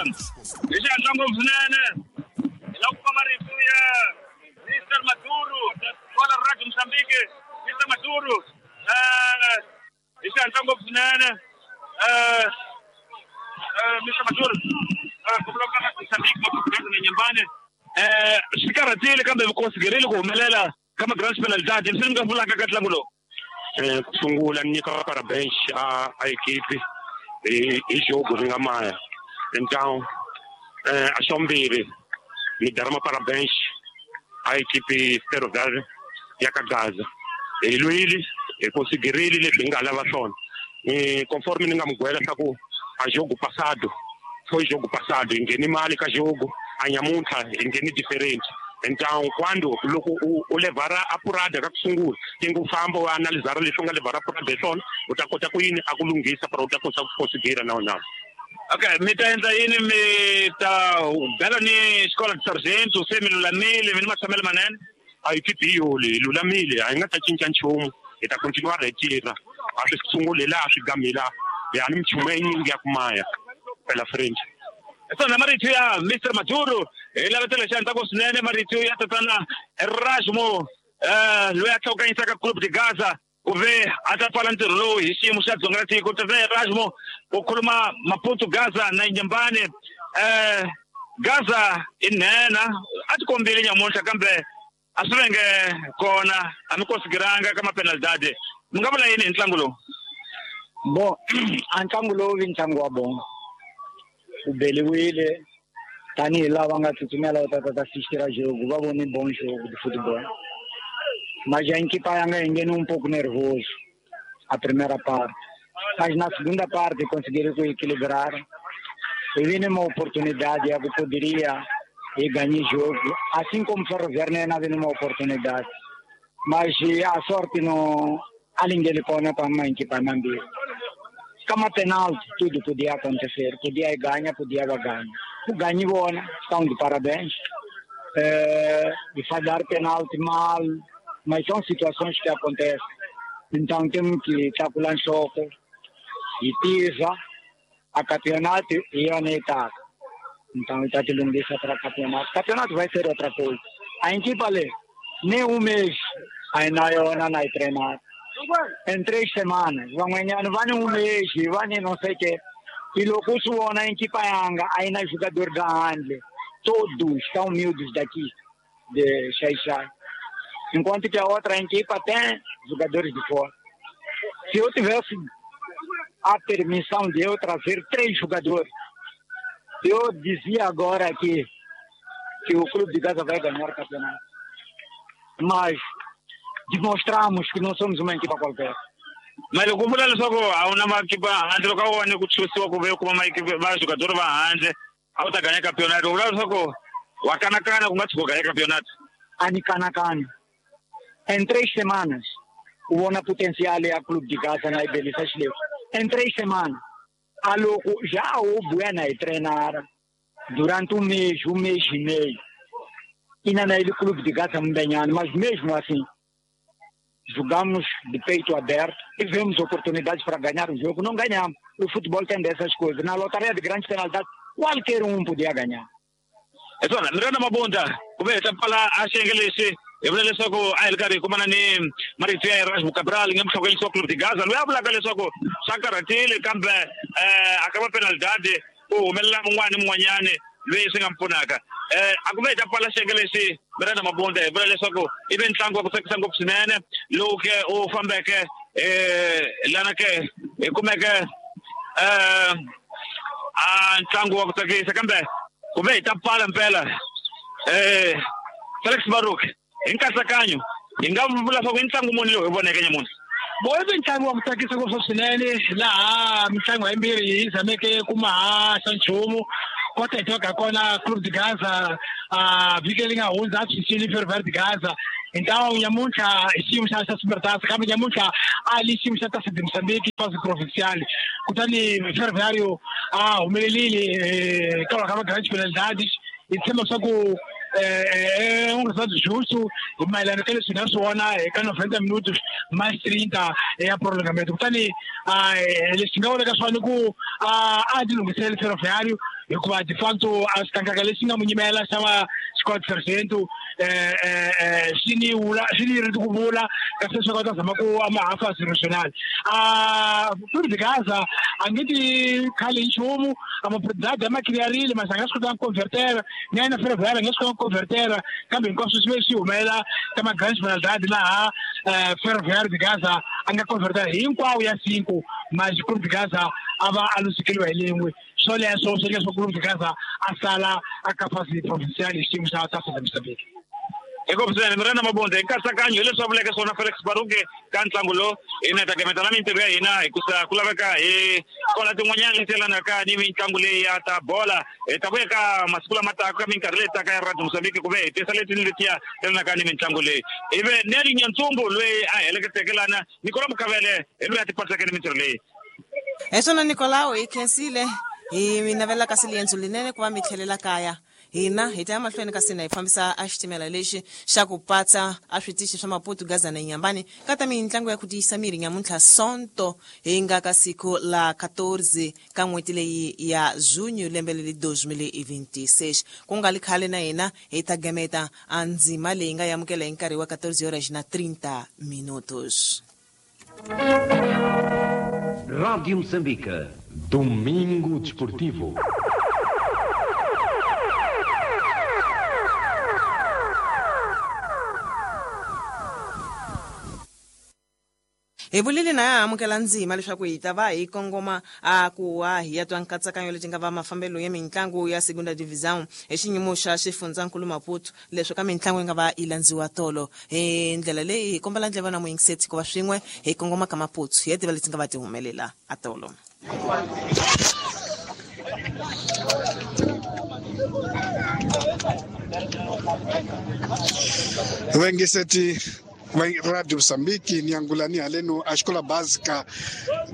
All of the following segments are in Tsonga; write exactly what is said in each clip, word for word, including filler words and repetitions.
Hi xihatla ngopfu swinene hi lava ku kuma marito ya Mister Maduro kwala Radio Mozambique. Mister Maduro, eh hi xihatla ngopfu swinene, eh eh Mister Maduro, eh ku vulavula na Mozambique Maputo na Nyembane, eh swi karhatile kambe mi konsiderile ku humelela ka ma-grand penalidade. Leswi mi nga vulaka ka ntlangu lowu? Eh ku sungula ni nyika parabéns a a equipe hi hi jogo ri nga maya. Então eh a xa vumbirhi ni darama parabéns a equipe Ferroviário ya ka Gaza. Hi lwile, hi konsiderile leswi hi nga lava swona. Ni conforme ni nga mi gwela swa ku a jogo passado foi jogo passado, hi ngheni mali ka jogo, a nyamuntlha hi ngheni diferente. Então quando loko u u levhara apurada ka ku sungula, tinga u famba u analizara leswi u nga levhara apurada hi swona, u ta kota ku yini a ku lunghisa para u ta kota ku considera na na. Okay, mi ta endla yini? Mi ta bela ni xikolo sargento se mi lulamile, mi ni matshamelo manene? A equipe hi yoli hi lulamile, a hi nga ta cinca nchumu, hi ta continua hi tirha. A swi sunguli laha swi gami laha, hi ni minchumu yinyingi ya ku maya pela frente. Swona marito ya Mister Maduro hi lavetela xiantsako swinene, marito ya tatana Erasmo, eh loyi a hlawukanyisaka Club de Gaza ku ve a ta pfala ntirho lowu hi xiyimo xa dzonga ra tiko. Tatana Erasmo u khuluma Maputo Gaza na Nyembane. eh Gaza i nhenha, a ti kombile nyamuntlha kambe a swi venge kona, a mi konsideranga ka mapenalidade. Mi nga vula yini hi ntlangu lowu? Bon, a ntlangu lowu vi ntlangu wa bon, u beliwile tanihi lava nga tsutsumela u ta ta assistir jogo, va vone bom jogo de futebol, mas a equipa yanga engene um pouco nervoso a primeira parte, mas na segunda parte conseguiram equilibrar e vi uma oportunidade que poderia e ganhar jogo, assim como Ferroviário não havia uma oportunidade, mas a sorte não alingele kona para uma equipa mambiri. Kama penalti, tudo podia acontecer, podia ganhar, podia ganhar. O ganho bona, estão de parabéns. É, de falhar penalti mal, mas são situações que acontecem. Então temos que estar com o choque e pisa a campeonato e a etapa. Então está te lunguiça para campeonato. Campeonato vai ser outra coisa. A equipe ali, nem um mês, ainda eu não vai treinar. Em três semanas, vão ganhar, não vai um mês, vai não sei o quê. E logo na equipa yanga, aí na jogador da Handle, todos estão humildes daqui, de Xaixai. Enquanto que a outra equipa tem jogadores de fora. Se eu tivesse a permissão de eu trazer três jogadores, eu dizia agora aqui que o Clube de Gaza vai ganhar o campeonato. Mas demonstramos que não somos uma equipa qualquer. Mas loko vula leswaku a wu na makipa handle, loko a wu vone ku chusiwa ku ve u kuma va jogador va handle a wu ta ganya campeonato, u vula leswaku wa kanakana ku nga tshuka u ganya campeonato? A ni kanakani. Em três semanas u vona potencial ya Clube de Gaza na ibelisa xileswi. Em três semanas a loko já o buya na hi treinara durante um mês, um mês e meio, ina na ele Clube de Gaza mbenyana, mas mesmo assim jogamos de peito aberto e vemos oportunidades para ganhar o jogo, não ganhamos. O futebol tem dessas coisas. Na lotaria de grandes penalidades, qualquer um podia ganhar. Swona Miranda Mabunda ku ve hi ta pfala a xiyenge lexi hi vula leswaku a hi ri karhi hi kumana ni marito ya Erasmo Cabral nga muhlokonyisi wa Club de Gaza loyi a vulaka leswaku swa karhatile kambe um a ka va penalidade ku humelela mun'wana ni mun'wanyani loyi swi nga mi pfunaka. Eh a ku ve hi ta pfala xiyenge lexi Miranda Mabunda hi vula leswaku i ve ntlangu wa ku tsakisa ngopfu swinene lowu ke u fambeke um lana ke hi kumeke um a ntlangu wa ku tsakisa kambe ku ve hi ta pfala mpela. eh Felix Baruk, hi nkatsakanyo hi nga vula leswaku i ntlangu muni lowu hi voneke nyamuntlha? Bo i ntlangu wa ku tsakisa ngopfu swinene laha mitlangu yimbirhi yi zameke ku mahaxa nchumu kota hi tivaka kona Clube de Gaza a vhiki leri nga hundza a tshunxile Ferroviário de Gaza. Hi ntlangu nyamuntlha hi xiyimo xa xa Supertaça, kambe nyamuntlha a li xiyimo xa Taça de Moçambique fase provincial, kutani Ferroviário a humelerile hikwalaho ka ma-grandes penalidades. Hi tshemba leswaku é um resultado justo hi mayelana ka leswi hi nga swi vona eka noventa minutos mais trinta ya prolongamento. Kutani leswi nga vulaka swona i ku a ti lunghisele Ferroviário Hikuva de facto a xikangaka lexi nga mu nyimela xa va Scott Sargento eh eh eh xi ni vula xi ni ri ku vula kasi swi kota zama ku ama hafa national a Clube de Gaza a nge ti khale nchumu a maproduct ma clearile mas a nga swi kota ku convertera ni yena Ferroviária nga swi kota ku convertera kambe hinkwaswo swi ve swi humelela ka ma grande penalidade laha Ferroviária de Gaza a nga convertera hinkwawo ya cinco mas Clube de Gaza a va a luzekeriwa hi lin'we. Swoleswo swi leswo Clube de Gaza a sala a ka fase provincial hi xiyimo xa Taça de Moçambique. Eko president Miranda Mabonde nkatsakanyo hileswi a vuleke swona Felix Baruke ka ntlangu lowu hina hi ta gemeta na mintirho ya hina hikusa ku laveka hi kola tin'wanyana leti yelanaka ni mitlangu leyi ya ta bola. Hi ta vuya ka masiku lama taka ka minkarhi leyi taka ya Radio Mozambique ku ve hi tisa leti ni letiya yelanaka ni mitlangu leyi. Ivi Neli Nyantsumbu loyi a heleketeke lana Nicola Mukavele hi loyi a tipatseke ni mintirho leyi. Hi swona Nicolao hi khensile hi mi navela kasi liendzo linene ku va mi tlhelela kaya. Hina hi ta ya mahlweni kasi na hi fambisa a xitimela lexi xa ku patsa a switichi swa Maputo, Gaza na Inhambane ka ta mitlangu ya ku tiyisa miri nyamuntlha Sonto hi nga ka siku la quatorze ka n'hweti leyi ya junho lembe leri dois mil e vinte e seis. Ku nga li khale na hina hi ta gemeta a ndzima leyi nga amukela hi nkarhi wa quatorze horas na trinta minutos. Rádio Moçambique. Domingo Desportivo. Hi vulile na ya amukela ndzima leswaku hi ta va hi kongoma a ku wa hi ya twa nkatsakanyo leti nga va mafambelo ya mitlangu ya segunda divisão hi xinyimo xa xifundzankulu Maputo leswi ka mitlangu yi nga va yi landziwa tolo. Hi ndlela leyi hi kombela ndleva na muyingiseti ku va swin'we hi kongoma ka Maputo hi ya tiva leti nga va ti humelela a tolo. Vengiseti Radio Mozambique ni angulani haleno a xikola básica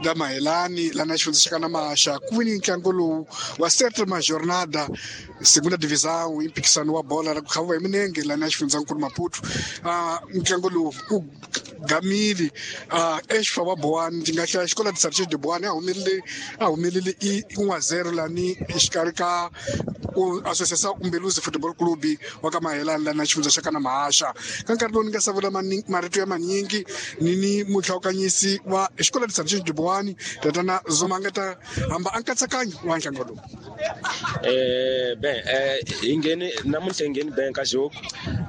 da Mahelani lá na xifundza xa ka Namaxa ku wini ntlangu lowu wa sétima jornada segunda divisão impikisano wa bola ra ku khaviwa hi minenge la na xifundzankulu Maputo. Ntlangu lowu ku gamile exfa wa Boane ndzi nga hlaya xikola de Sargento de Boane a humelele a humelele i un a zero lani exikarhi ka Associação Umbeluzi Futebol Clube wa ka Mahelani la na xifundza xa ka Namaxa. Ka nkarhi lowu ni nga savula marito ya manyingi ni ni muhlawukanyisi wa xikola de Sargento de Boane tatana Zuma nga ta hamba a nkatsakanyo wa ntlangu lowu. Eh bem, eh hi ngheni namuntlha hi ngheni bem ka jogo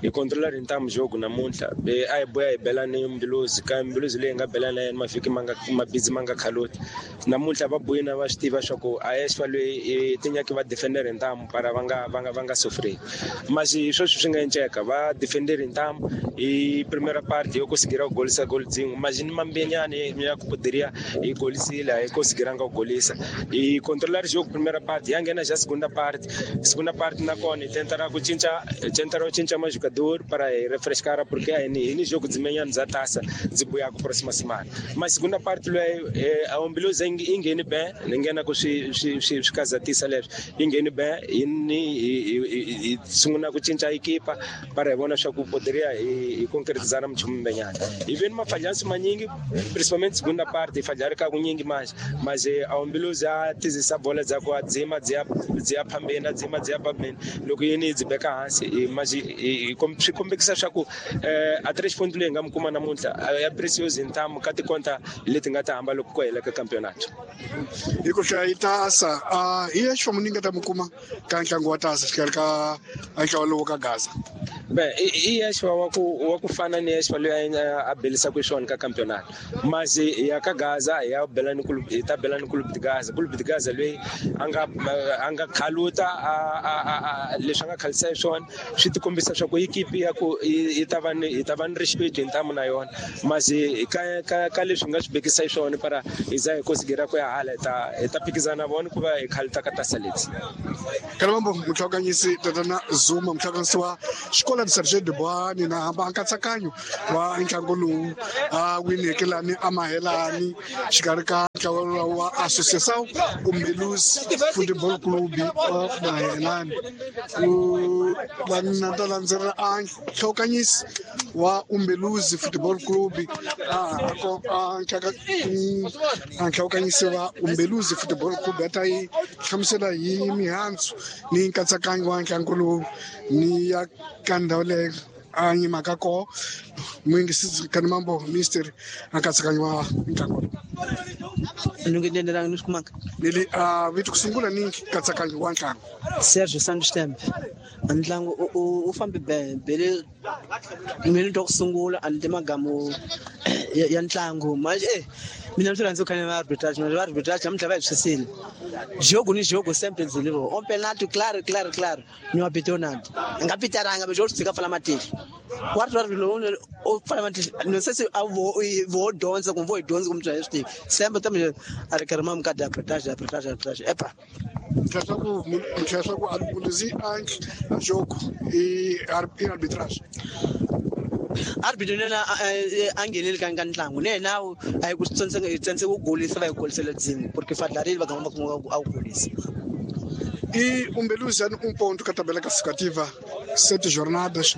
hi controla ri ntamu jogo namuntlha be a hi boya hi bela ni Mbiluzi ka Mbiluzi leyi nga bela na yena mavhiki ma nga mabidzi ma nga khaloti namuntlha va boyina va swi tiva swa ku a esfa loyi tinyaki va defender ntamu para va nga va nga va nga sofrei mas hi sweswi swi nga enceka va defender ntamu hi primeira parte yo conseguir ku golisa gol dzin'we mas ni mambenyani ya ku poderia hi golisile hi conseguiranga ku golisa hi controlar jogo primeira parte ya nghena já segunda parte segunda parte na kona tentará ku cinca tentará cinca mais jogador para refrescar porque aí ni jogo de manhã za taça de boiar com próxima semana mas segunda parte loyi a Umbiluzi ingeni bem ninguém na ku swi swi swi kazatisa leswi ingeni bem ni sungula ku cinca equipa para hi vona swa ku poderia hi concretizar mchumu mbenyana hi veni mafalhansi manyingi principalmente segunda parte falhar ka kunyingi manje mas a Umbiluzi a tizisa bola dza ku adzima dzi dzi ya phambeni adzima dzi ya phambeni loko yini dzi beka hansi mas swi kombekisa swa ku a três pontos leyi nga mi kuma namuntlha ya precioso ntamu ka tikonta leti nga ta hamba loko ku hela ka campeonato. Hi ku hlaya yi tasa hi ya xifamu ni nga ta mi kuma ka ntlangu wa tasa xikarhi ka ntlawa lowu ka Gaza. Bem, i exfa wa ku wa ku fana ni exfa loyi a belisaka xiswona ka campeonato mas ya ka Gaza ya bela ni clube ta bela ni clube de Gaza clube de Gaza loyi a nga a nga khaluta a leswi a nga khalisa hi swona swi ti kombisa swa ku equipe ya ku yi ta va ni hi ta va ni respect hi ntamu na yona mas ka ka ka leswi nga swi bekisa hi swona para hi za hi conseguir ku ya hala hi ta hi ta phikizana vona ku va hi khaluta ka tasa leti. Kalombo muhlawukanyisi tatana Zuma muhlawukanyisi wa xikola de Sargento de Boane na hamba nkatsakanyo wa ntlangu lowu a wineke lani a Mahelani xikarhi ka ntlawa wa Associação Umbeluzi Futebol Clube wa Mahelani u na ta landzela a nhlokanyisi wa Umbeluzi Football Club a ko a a nhlokanyisi wa Umbeluzi Football Club a ta yi hlamusela hi mihandzu ni nkatsakanyo wa ntlangu lowu ni ya ka ndhawu leyo a nyimaka koho muyingisi Kanimambo Mister a nkatsakanyo wa ntlangu ni ni swi kumaka ni le a vito ku sungula ni nkatsakanyo wa ntlangu Sergio Santos Tembe ntlangu u fambe bele mina twa ku sungula a ni te magamu ya ntlangu manje eh mina ni rhandza ku khanya va arbitrage manje va arbitrage namuntlha va hi swisile jogo ni jogo sempre dzilivo on penalty claro claro claro ni wa bitonad nga pitaranga be jogo tsika fala matihlo wa ri ri lo o fala matihlo no se se a vo vo donza ku vo donza ku mtswa swi sempre tambe a ri karima mukada arbitrage arbitrage arbitrage epa leswaku leswaku a Umbeluzi a jogo i arbitrage arbitro nena a ngheneli ka ka ntlangu ne na a yi ku tsantseka hi tsantseka ku golisa va yi golisela dzimi porque fadlarile va gamba kuma a ku golisa i Umbeluzi um ponto ka tabela classificativa sete jornadas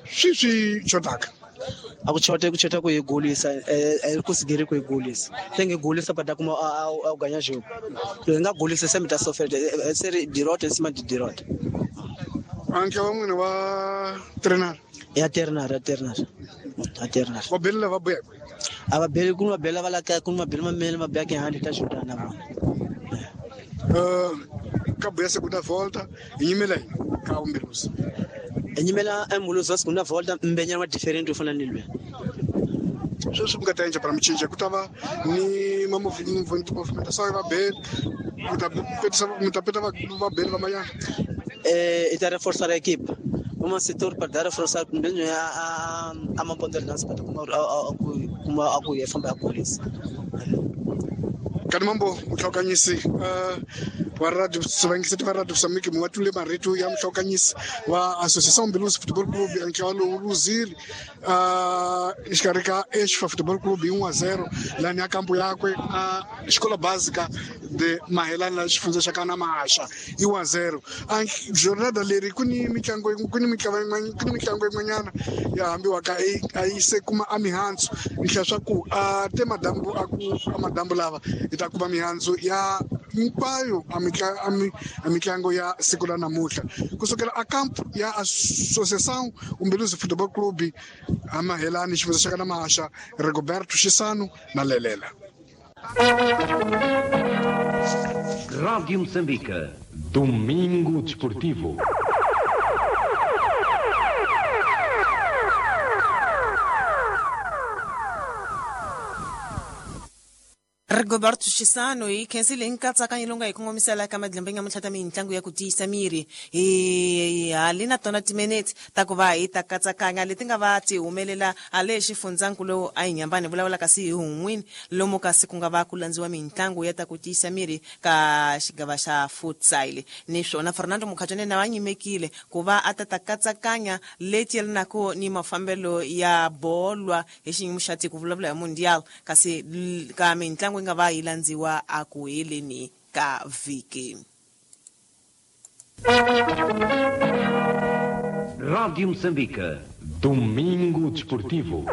swi swi xotaka a ku chota ku chota ku hi golisa a ku sigiri ku hi golisa se nge golisa pata kuma a ganya jogo hi nga golisa se mi ta sofela se ri dirota sima di dirota anke wa n'wina wa trainer ya ternar ya ternar ya ternar va bela va buya a va beli ku va bela va la ka ku va bela mamele ma bya ke handi ta xotana na vona eh ka buya segunda volta hi nyimela ka Umbeluzi hi nyimela Umbeluzi wa segunda volta mbenyana wa different u fana ni lwe sweswi mi nga ta endla para michinja ku ta va ni ma movimentação ya vabeli mi ta petisa mi ta peta va beli va mayana eh i ta reforçar a equipe uma setor para dar reforçar kumbe a a maponto dança para kuma kuma a ku famba a polícia Kanimambo muhlokanyisi wa radio sivangisi va radio Moçambique mu watule marito ya muhlokanyisi wa Associação Umbeluzi Futebol Clube ntlawa lowu luzile exikarhi ka Exfa Futebol Clube hi un a zero lani ya kampo yakwe a xikola básica de Mahelani la xifundza xa ka Namahasha i one zero a jornada leri ku ni mitlangu ku ni mitlangu ku ni mitlangu yin'wanyana ya hambiwaka a yi se kuma a mihandzu ni hlaya swa ku a te madambu a ku a madambu lava hi ta kuma mihandzu ya hinkwayo a mitlangu ya siku la namuntlha kusukela a campo ya Associação Umbeluzi Futebol Clube a Mahelani xifundza xa ka Namahasha Rigoberto Xisano na Lelela. Rádio Moçambique, Domingo Desportivo. Rigoberto Xisano hi khensile hi nkatsakanyo lowu nga hi kongomisela ka madlembe nga mutlhata mintlangu ya ku tiyisa miri hi hali na tona timinete ta ku va hi ta katsakanya leti nga va ti humelela hale xifundzankulu lowu a hi nyambani vulavula kasi hi hun'wini lomu kasi ku nga va ku landziwa mintlangu ya ta ku tiyisa miri ka xigava xa futsal niswona Fernando Mukhachane na va nyimekile ku va a ta ta katsakanya leti yelanaka ni mafambelo ya bolwa hi xiyimo xa tiko vulavula hi mundial kasi ka mintlangu nga va yi landziwa a ku heleni ka vhiki. Rádio Moçambique, Domingo Desportivo.